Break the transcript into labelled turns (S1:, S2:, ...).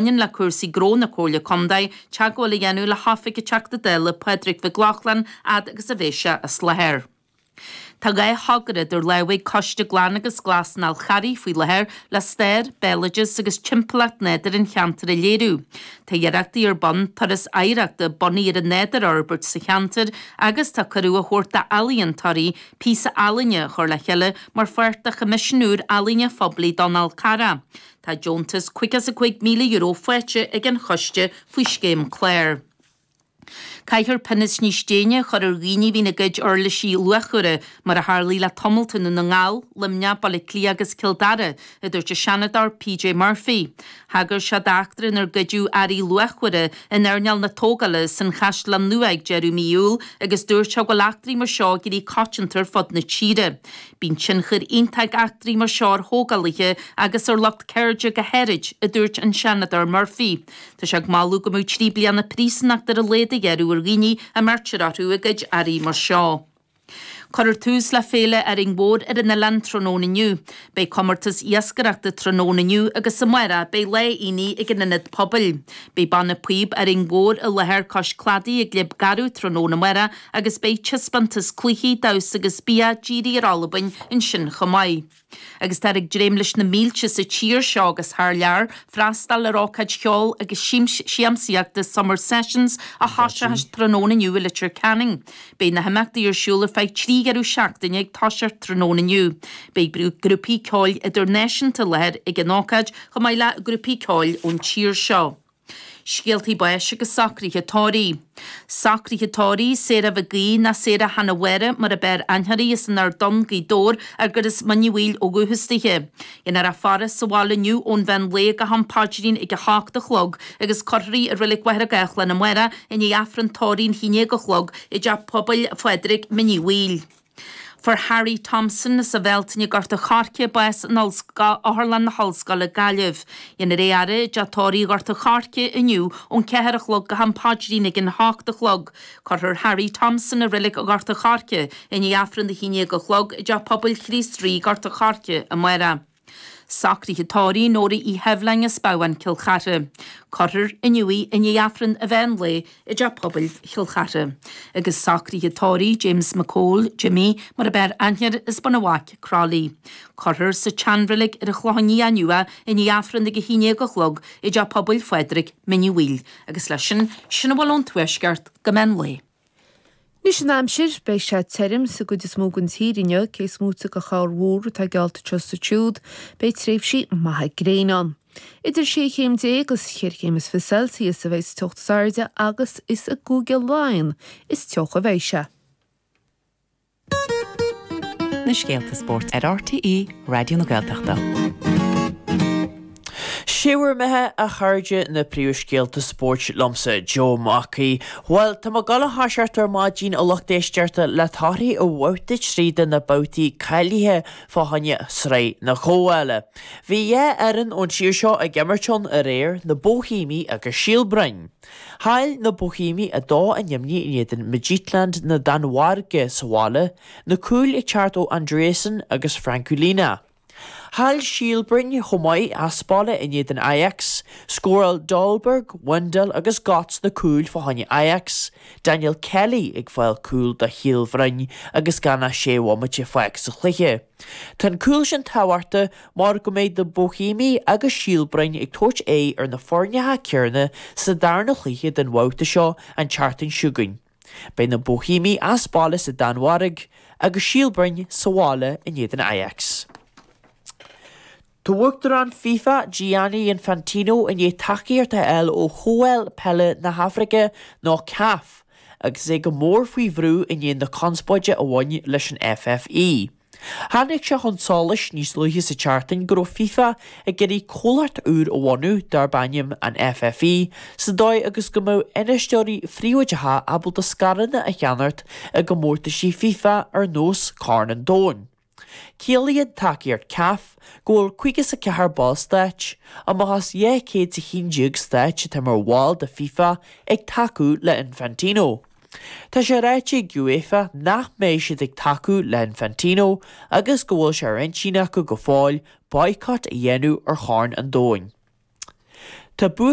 S1: Bhaineann le cúrsaí gnó na Comhairle Contae, teagmháil a dhéanamh le hOifig an Teachta Dála Pádraig Mhic Lochlainn fhad agus a bheidh sé as láthair. Tá 2 thogra idir lámha ag Coiste Glan agus Glas an Fhál Charraigh faoi láthair le stair, béaloideas agus timpeallacht nádúir an cheantair a léiriú. Tá iarrachtaí ar bun turas oidhreachta bunaithe ar an nádúr a fhorbairt sa cheantar agus tá cuireadh á thabhairt d'ealaíontóirí píosa ealaíne a chur le chéile mar pháirt de choimisiún úr ealaíne phoiblí don Fhál Carrach. Tá deontas €55,000 faighte ag an choiste faoi scéim clár. Caithfear pionós níos déine a chur ar dhaoine a bhíonn ag goid uirlisí luachmhara, mar a tharlaigh le tamalt i nDún na nGall, Luimneach, Baile Átha Cliath agus Cill Dara, a dúirt an Seanadóir PJ Murphy. Thagair sé d'eachtra inar goideadh earraí luachmhara in earnáil na tógála san Chaisleán Nua ag deireadh mí Iúil agus dúirt sé go bhfuil eachtraí mar seo ag éirí coitianta ar fud na tíre. Bíonn tionchar iontach ag eachtraí mar seo ar thógálaithe agus ar lucht ceirde go háirid, a dúirt an Seanadóir Murphy. Tá sé ag moladh go mbeadh 3 bliana príosúnachta ar a laghad a ghearradh ar dhaoine a mbeirtear orthu ag goid earraí mar seo. Cuirfear tús le Féile Árainn Mhór ar an oileán tráthnóna inniu. Beidh comórtas iascaireachta tráthnóna inniu agus amárach beidh lá aonaigh ag an Ionad Pobail. Beidh Banna Píob Árainn Mhór i láthair cois cladaigh i gClib Garbh tráthnóna amárach agus beidh taispeántas cluichí, damhsa agus bia dírithe ar Albain ansin chomh maith. Agus táthar ag dréim leis na mílte sa tír seo agus thar lear freastal ar ócáid cheoil agus siamsaíochta Summer Sessions a thoiseochas tráthnóna inniu i Leitir Ceanainn. Beidh na himeachtaí ar siúl ar feadh 3 dheireadh seachtaine ag toiseacht tráthnóna inniu. Beidh grúpaí ceoil idirnáisiúnta i láthair ag an ócáid chomh maith le grúpaí ceoil ón tír seo. Scéaltaí báis agus socruithe tórraimh. Socruithe tórraimh, Sarah Mhig Aoidh ná Sarah Hanna Mháire mar ab fhearr aithne uirthi as an Ard Donn, Gaoth Dobhair, ar as Mín Uí Bhaoill ó dhúchas dithe. Déanfar a faire sa bhaile inniu ón mheán lae go ham paidrín ag 8 a chlog agus cuirfear í i Reilig Mhachaire Gathlán amárach i ndiaidh Aifreann tórraimh an 11 a chlog i dTeach Pobail Phádraig, Mín Uí Bhaoill. Fuair Harry Thompson as an Bhealtaine, Gort a' Choirce, bás in Otharlann na hOllscoile, Gaillimh. Déanfar é a fhaire i dTeach Tórraimh Ghort a' Choirce inniu ón 4 a chlog go ham paidrín ag an 8 a chlog. Cuirfear Harry Thompson i Reilig Ghort a' Choirce i ndiaidh Aifreann a 11 a chlog i dTeach Pobail Chríost Rí, Gort a' Choirce, amárach. Socruithe tórraimh Nóra Uí Sheibhleáin as Babhán, Cill Chartha. Cuirfear inniu í i ndiaidh Aifreann an mheán lae i dTeach Pobail Chill Chartha. Agus socruithe tórraimh James McCole, Jimmy, mar ab fhearr aithne air as Bun an Bhaic, Crolly. Cuirfear sa tseanreilig ar an Chlochán Liath inniu é i ndiaidh Aifreann ag 11 a chlog i dTeach Pobail Phádraig, Mín Uí Bhaoill. Agus leis sin, sin a bhfuil ón Tuaisceart go meán lae.
S2: Anois an aimsir, beidh sé tirim sa gcuid is mó den tír inniu, cé is móite de chorrmhúr atá geallta anseo is ansiúd, beidh tréimhsí maithe gréine ann. Idir sé chéim déag agus cheithre chéim is fiche Celsius a bheidh sa teocht is airde agus is i gCúige Laighean is teocha a bheidh sé.
S3: Na scéalta spóirt ar RTÉ Raidió na Gaeltachta.
S4: Sé bhur mbeatha, a chairde, na príomhscéalta spóirt liomsa, Joe Mac Aoidh. Bhuel, tá muid ag gabháil a thoiseacht ar maidin, a lucht éisteachta, le torthaí ó bhabhta 3 de na babhtaí cáilithe fá choinne Sraith na Comhdhála. Bhí dhá fhoireann ón tír seo ag imirt ann aréir, na Bóihéimigh agus Síol Broin. Chaill na Boihéimigh 2 in imní in éadan Midtjylland na Danmhairge sa bhaile, na cúil ag teacht ó Andreasen agus Franculino. Chaill Síol Broin chomh maith as baile in éadan Ajax, scóráil Dolberg, Wendell agus Godts na cúil fá choinne Ajax, Daniel Kelly ag fáil cúl do Shíol Bhroin agus gan ach sé bhomaite fágtha sa chluiche. Tá an cúl sin tábhachtach mar go mbeidh na Boihéimigh agus Síol Broin ag tabhairt aghaidh ar na foirneacha céanna sa darna chluiche den bhabhta seo an tseachtain seo chugainn. Beidh na Boihéimigh as baile sa Danmhairg agus Síol Broin sa bhaile in éadan Ajax. Tá Uachtarán FIFA, Gianni Infantino i ndiaidh tacaíocht a fháil ó Chomhdháil Peile na hAfraice nó CAF agus é go mór faoi bhrú i ndiaidh na conspóide a bhain leis an FFI. Tháinig sé chun solais níos luaithe sa tseachtain go raibh FIFA ag iarraidh comhlacht úr a bhunú darb ainm an FFI sa dóigh agus go mbeadh infheisteoirí phríobháideacha ábalta scaireanna a cheannacht i gcomórtaisí FIFA ar nós Corn an Domhain. Ciallaíonn tacaíocht CAF go bhfuil 54 ballstáit, amach as 211 stáit atá mar bhall de FIFA, ag tacú le Infantino. Tá sé ráite ag UEFA nach mbeidh siad ag tacú le Infantino agus go bhfuil sé ar intinn acu go fóill boycott a dhéanamh ar Chorn an Domhain. Tá bua.